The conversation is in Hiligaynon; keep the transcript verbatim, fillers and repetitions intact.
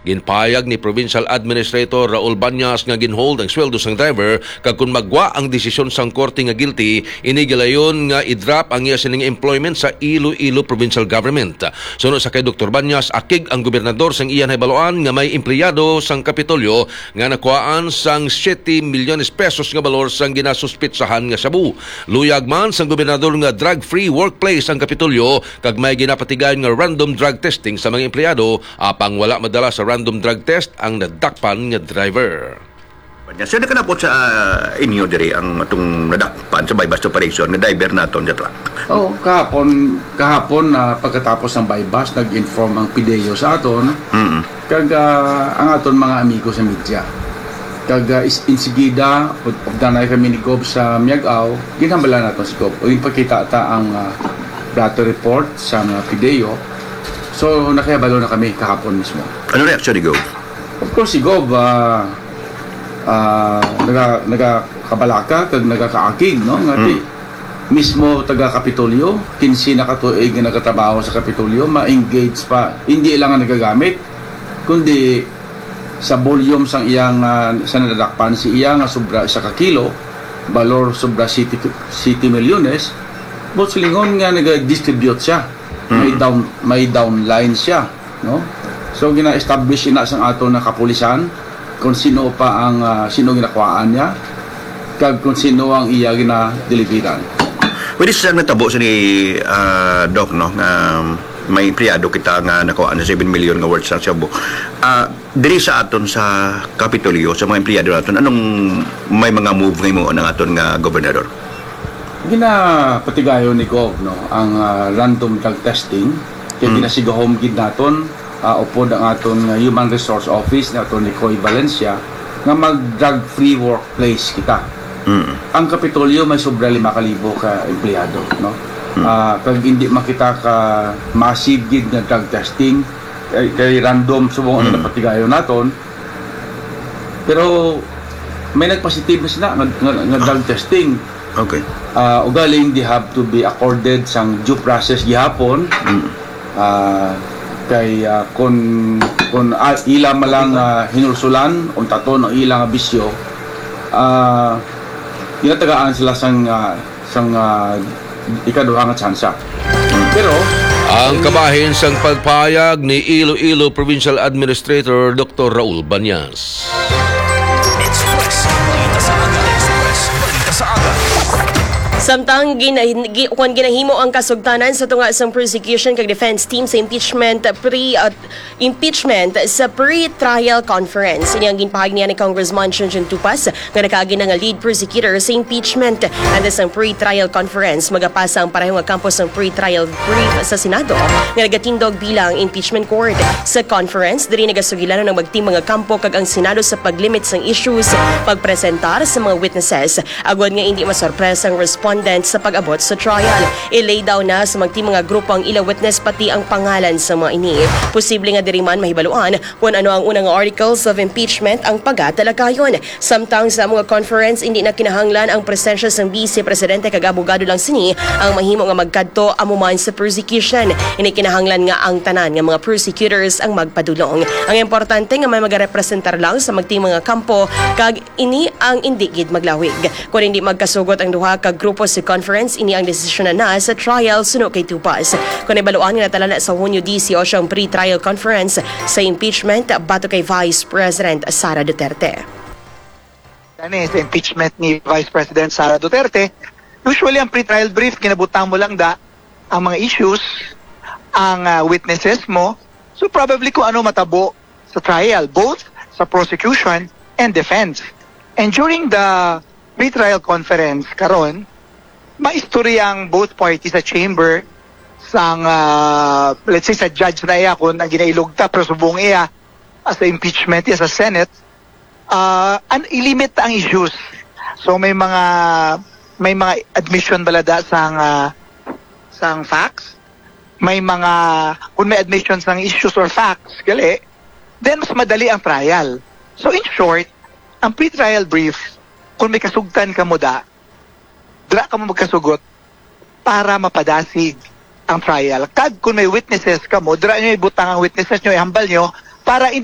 Ginpahayag ni Provincial Administrator Raul Banyas nga ginhold ang sweldo sang driver, kag kon magwa ang desisyon sang korte nga guilty, ini gilayon nga i-drop ang iya sining employment sa Iloilo Provincial Government. Suno sa kay Doktor Banyas, akig ang gobernador sang iya nahibaluan nga may empleyado sang Kapitolyo nga nakuhaan sang siete milyones pesos nga balor sang ginasuspitsahan nga shabu. Luyag man sang gobernador nga drug-free workplace ang Kapitolyo, kag may ginapatigayon nga random drug testing sa mga empleyado, apang wala madala sa random drug test ang nadakpan nga driver. Nya, sir, nakalabot sa, ah, inyo diri ang atong nadakpan sa buy-bust operation nga driver naton sa truck? Oh, kahapon, kahapon na pagkatapos ng buy-bust, nag-inform ang PDEO sa aton, Mm. kag, ah, ang aton mga amigo sa media. Kag, ah, is, insigida, ug, ug danay kami ni Gov sa Miag-ao, ginhambalan naton si Gov. O, ginpakita ta ang, ah, blotter report sa mga PDEO. So, nakahibalo na kami kahapon mismo. Ano reaksyon ni Gov? Of course, si Gov, ah, ah, naga-, nagakabalaka kag nagakaakig, no? Nga ti-, Mm. mismo taga Kapitolyo, kinse na ka tuig nga nagatrabaho sa Kapitolyo, ma-engage pa, hindi lang nga nagagamit, kundi sa volume sang iyang, ah, sa nadadakpan si iya nga sobra isa ka kilo, balor sobra siyete, siyete milyones, buot silingon nga nag-distribute siya. May Mm. down, may downline siya, no? So, gina-establish ina sang ato na kapulisan kung sino pa ang, ah, sino ginakuhaan niya, kag kung sino ang iya ginadeliveran. Pwede siya natabo sa ni, ah, Doc, no, nga may empleyado kita nga nakuha na seven million nga worth sa shabu. Ah, diri sa aton sa Kapitolyo, sa mga empleyado naton, anong may mga move nga himuon ang aton nga gobernador? Ginapatigayon ni Gov, no, ang, ah, random drug testing. Kay Mm. ginasigahom gid naton, ah, upod ang aton nga Human Resource Office ni Attorney Coy Valencia nga mag drug-free workplace kita. Mm. Ang Kapitolyo may sobra lima ka libo ka empleyado, no? Mm. Ah, kag hindi makita ka massive gid nga drug testing, kay, kay random subong ang Mm. napatigayon naton. Pero may nagpositive na sila nga, nga, nga drug testing. Okay. Ah, ugaling they have to be accorded sang due process gihapon. Mm. Ah, kay, ah, kun, kun, ah, ila man lang, ah, hinulsulan, untaton ang ilang bisyo, ah, ginatagaan sila sang, ah, sang, ah, ikaduha nga tsansa. Pero ang kabahin sang pagpahayag ni Iloilo Provincial Administrator Doktor Raul Banyas. Express Balita sa Aga. Express Balita sa Aga. Samtang gina-, gi-, kung ginahimo ang kasugtanan sa tunga sang prosecution kag defense team sa impeachment pre-, uh, impeachment sa pre-trial conference. Ini ang ginpahayag niya ni Congressman Chunchun Tupas, nga nakaagi na nga lead prosecutor sa impeachment. Antes sang pre-trial conference, magapasa ang pareho nga kampo sang pre-trial brief sa Senado nga nagatindog bilang impeachment court. Sa conference, diri nagasugilanon ang magting mga kampo kag ang Senado sa paglimit sang issues, pagpresentar sa mga witnesses, agod nga indi masorpresa ang respondent sa pag-abot sa trial. I-lay down na sa magting mga grupo ang ila witness pati ang pangalan sa mga ini. Posible nga diri man mahibaluan kon ano ang unang articles of impeachment ang pagatalakayon. Samtang sa mga conference, hindi na kinahanglan ang presensya sang Vice Presidente kag abogado lang sini ang mahimo nga magkadto amo man sa prosecution. Hindi kinahanglan nga ang tanan nga mga prosecutors ang magpadulong. Ang importante nga may magarepresentar lang sa magting mga kampo kag ini ang indi gid maglawig. Kon hindi magkasugot ang duha ka grupo sa conference, ini ang desisyonan na sa trial suno kay Tupas. Kon ibaluan nga natala na sa Hunyo dieciocho ang pre-trial conference sa impeachment batok kay Vice President Sara Duterte. Gani, sa impeachment ni Vice President Sara Duterte, usually ang pre-trial brief, ginabutang mo lang da ang mga issues, ang, ah, witnesses mo. So probably kung ano matabo sa trial, both sa prosecution and defense. And during the pre-trial conference karon, maistorya ang both parties sa chamber, sang, ah, let's say, sa judge na iya kung ang ginailugta, pero subong iya as sa impeachment, iya sa Senate, ah, an-, ilimit ang issues. So may mga, may mga admission bala da sang, ah, sang facts, may mga, kung may admission sang issues or facts, gali, then mas madali ang trial. So in short, ang pre-trial brief, kung may kasugtan kamo da, dira kamo magkasugot para mapadasig ang trial. Kag kung may witnesses kamo, dira nyo ibutang ang witnesses nyo, ihambal nyo, para hindi